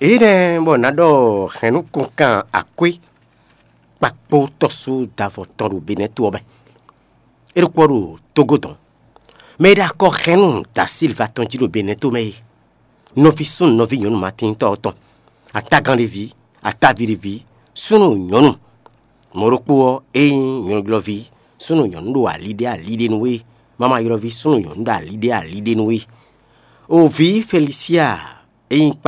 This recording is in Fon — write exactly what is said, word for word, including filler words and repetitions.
Énɛ́ bɔ nǎ ɖɔ hɛ̌nnukɔnkan akwé kpakpó tɔ́sú davɔ tɔn ɖo Benɛ́to ɔ́ mɛ. É ɖokpó ɔ́ ɖo Tógó dɔn. Mɛ e ɖo akɔ hɛ́nnu da Silva tɔn jí ɖo Benɛ́to mɛ é, nɔví súnnu nɔví nyɔ̌nu Matíntɔ́ ɔ́ tɔn, atágán ɖé ví, ataví ɖé ví, súnnu nyɔ̌nu. Mɔ̌ ɖokpó ɔ́, é nyí nyɔ̌nuylɔ́ví súnnu nyɔ̌nu ɖo ali ɖé ali ɖé nú é, mama ylɔ́ví súnnu nyɔ̌nu ɖo ali ɖé ali ɖé nú é. O vǐ Felisia e nyí